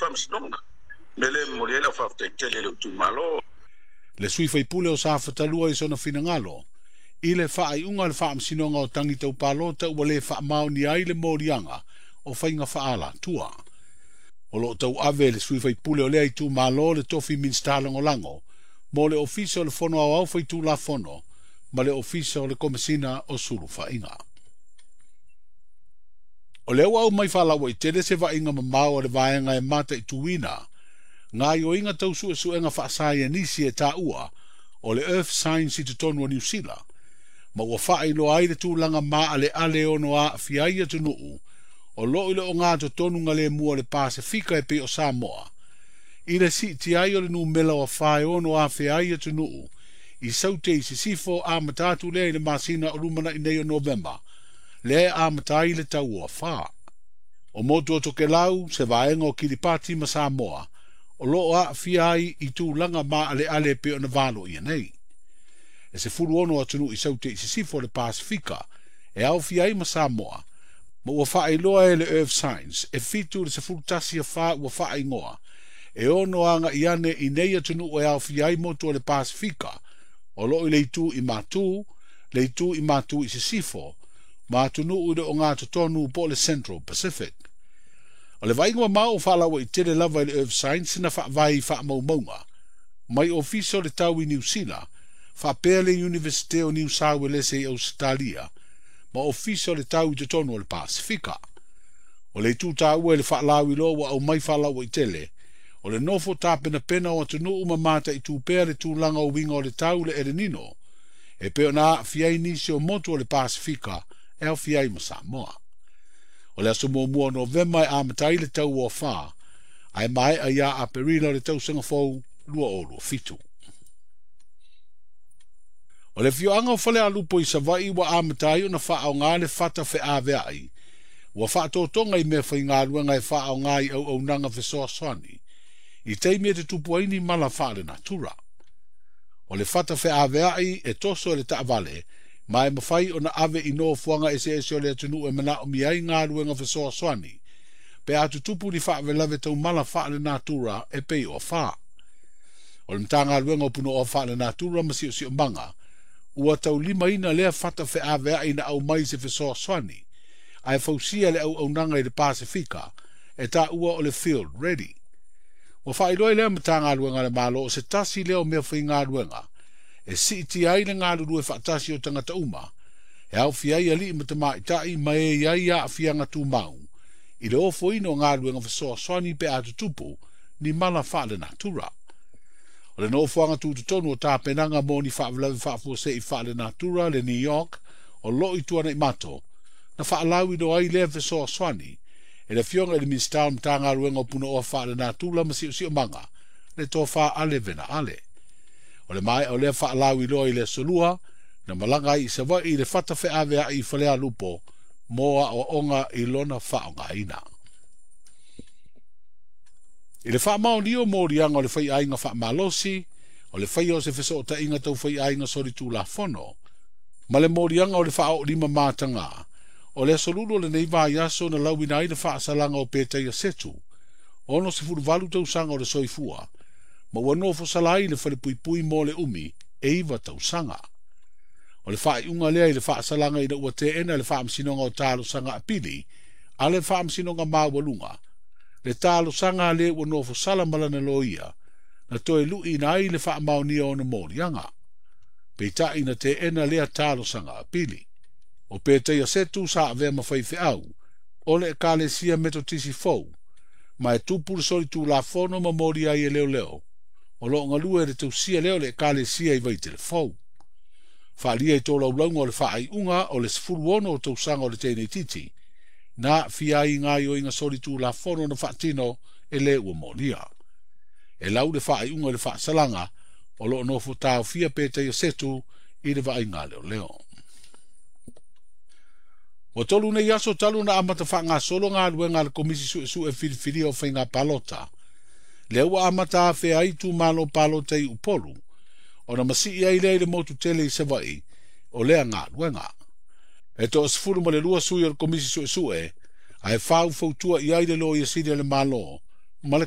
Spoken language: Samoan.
Faamasinoga. Mea lea e momoli ai lau faafetai tele i lou itumalo. Le sui faipule o Safatalua i sona finagalo i le faaiuga a le Faamasinoga o Tagi Tau Palota ua le faamaonia ai le moliaga o faiga faaalatua. O loo tauave e le sui faipule o lea itumalo le tofi Minisita Lagolago mo le Ofisa o le Fono Aoao Faitulafono ma le Ofisa o le Komesina o Sulufaiga. O lea ua aumai faalauaitele se vaaiga mamao a le vaega e mataituina gaoioiga tau suesuega faasaienisi e taua o le Earth Science i totonu o Niu Sila, ma ua faailoa ai le tulaga maaleale e ono aafia ai atunuu o loo i le ogatotonu galemu o le Pasefika e pei o Samoa, i le siitia ai o le numera o afa e ono afea ai atunuu i Saute i Sisifo amata atu lea i le masina o lumanai nei o Novema, lea e amata ai le tau o afa. O motu o Tokelau, se vaega o Kiripati ma Samoa, o loo aafia ai i tulaga maaleale e pei ona valoia nei. E 16 atunuu i Saute i Sisifo o le Pasefika e aofia ai ma Samoa, ma ua faailoa e le Earth Science e 7 i le 11 afa ua faaigoa e ono agai ane i nei atunuu e aofia ai motu o le Pasefika o loo i le itu i matu, le itu i matu i sisifo, ma atunuu i le ogatotonu po o le Central Pacific. O le vaaiga mamao o faalauaitele lava i le Earth Science na faavae i faamaumauga mai Ofisa o le Tau i Niu Sila, faapea le Iunivesite o Niu Sauelese i Ausetalia, ma Ofisa o le Tau i totonu o le Pasefika. O le itu taua i le faalauiloa ua aumai faalauaitele, o le nofo tapenapena o atunuu ma mataitu pea le tulaga o uiga o le tau le El Nino, e pei ona aafia ai nisi o motu o le Pasefika e aofia ai ma Samoa. O le aso 1 o Novema e amata ai le tau o afa, ae maea ia Aperila o le tausaga fou 2027. O le afioaga o Falealupo i Savaii ua amata ai ona faaaoga le fata feaveai, ua faatotoga i mea faigaluega e faaaoga i auaunaga fesoasoani, i taimi e tutupu ai ni mala faalenatura. O le fata feaveai e toso e le taavale, ma e mafai ona ave i nofoaga eseese o le atunuu e manaomia ai galuega fesoasoani, pe a tutupu ni faalavelave tau mala faalenatura e pei o afa. O le Matagaluega o Punaoa Faalenatura ma Siosiomaga ua taulimaina lea fata feaveai na aumai se fesoasoani, ae fausia le auaunaga i le Pasefika e taua o le Field Ready. Ua faailoa i lea Matagaluega a le Malo o se tasi lea o mea faigaluega e siitia ai le galulue faatasi o tagata uma, e aofia ai alii ma tamaitai ma e i ai aafiaga tumau, i le ofoina o galuega fesoasoani pe a tutupu ni mala faalenatura. O le nofoaga tutotonu o tapenaga mo ni faalavelave faafuasei faalenatura le New York o loo i Tuanaimato, na faalauiloa ai lea fesoasoani e le afioga i le Minisita o Matagaluega o Punaoa Faalenatura ma Siosiomaga, le Tofa Ale Vena Ale. O le maea o lea faalauiloa i le aso Lua, na malaga ai i Savaii i le fata feaveai i Falealupo mo aoaoga i lona faaaogaina. I le faamaonia o moliaga o le faiaiga faamalosi, o le faia o se fesootaiga tau faiaiga solitulafono, ma le moliaga o le faaoolima mataga, o le aso Lulu o lenei vaiaso na lauina ai le faasalaga o Petaia Setu, 68 tausaga o le soifua, ma ua nofo sala ai le falepuipui mo le umi e 9 tausaga. O le faaiuga lea i le faasalaga ina ua teena le Faamasinoga o Talosaga Apili a le Faamasinoga Maualuga, le talosaga a le ua nofo sala ma lana loia, na toe luiina ai le faamaonia o ona moliaga. Peitai na teena lea talosaga apili. O Petaia Setu sa avea ma faifeau, o le Ekalesia Metotisi fou, ma e tupu le solitulafono ma moli ai e leoleo, o loo galue le tausia lea o le Ekalesia i Vaitele fou. Faalia i tolaulauga o le faaiuga o le 16 o tausaga o le teineitiiti, na aafia ai i gaoioiga solitulafono na faatino e le ua molia. E lau le faaiuga i le faasalaga o loo nofo taofia Petaia Setu i le vaaiga leoleo. Ua 3 nei aso talu na amata faagasolo galuega a le Komisi Suesue Filifilia o Faiga Palota, lea ua amata afea ai itumalo palota i Upolu, ona masii ai lea i le motu tele i Savaii o lea galuega. E 12 sui o le Komisi Suesue, ae faufautua i ai le Loia Sili a le Malo ma le